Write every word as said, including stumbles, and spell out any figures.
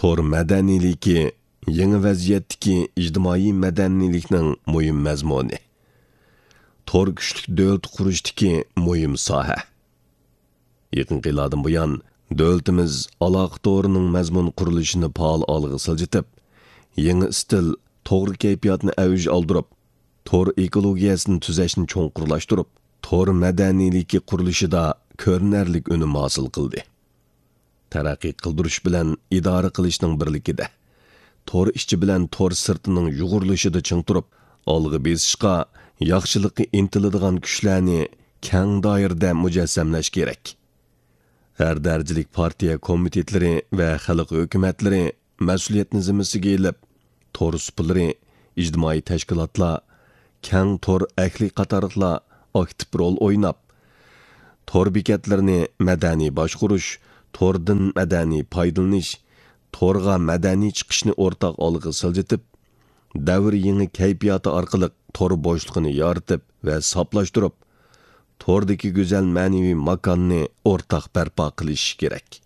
تور مەدەنىيلىكى يېڭى ۋەزىيەتتىكى ئىجتىمائىي مەدەنىيلىكنىڭ مۇھىم مەزمۇنى. تور كۈچلۈك دۆلەت قۇرۇشتىكى مۇھىم ساھە. يېقىنقى يىللاردىن بۇيان، دۆلىتىمىز ئالاقە تورىنىڭ مەزمۇن قۇرۇلۇشىنى پائال ئالغا سىلجىتىپ، يېڭى ئىستىل، توغرا كەيپىياتنى ئەۋج ئالدۇرۇپ، تور ئېكولوگىيەسىنى تۈزەشنى چوڭقۇرلاشتۇرۇپ، تور مەدەنىيلىكى قۇرۇلۇشىدا كۆرۈنەرلىك ئۈنۈم ھاسىل قىلدى. تەرەققىي قىلدۇرۇش بىلەن ئىدارە قىلىشنىڭ بىرلىكىدە، تور ئىچى بىلەن تور سىرتىنىڭ يۇغۇرۇلۇشىدا چىڭ تۇرۇپ، ئالغا بېسىشقا، ياخشىلىققا ئىنتىلىدىغان كۈچلەرنى كەڭ دائىرىدە مۇجەسسەملەش كېرەك. ھەر دەرىجىلىك پارتىيە كومىتېتلىرى ۋە خەلق ھۆكۈمەتلىرى مەسئۇلىيەتنى زىممىسىگە ئېلىپ، تور سۇپىلىرى، ئىجتىمائىي تەشكىلاتلار، كەڭ تور ئەھلى قاتارلىقلار ئاكتىپ رول ئويناپ، تور بېكەتلىرىنى مەدەنىي باشقۇرۇش، توردىن مەدەنىي پايدىلىنىش، تورغا مەدەنىي چىقىشنى ئورتاق ئالغا سىلجىتىپ، دەۋر يېڭى كەيپىياتى ئارقىلىق تور بوشلۇقىنى يارىتىپ ۋە ساپلاشتۇرۇپ، توردىكى گۈزەل مەنىۋى ماكاننى ئورتاق بەرپا قىلىش كېرەك.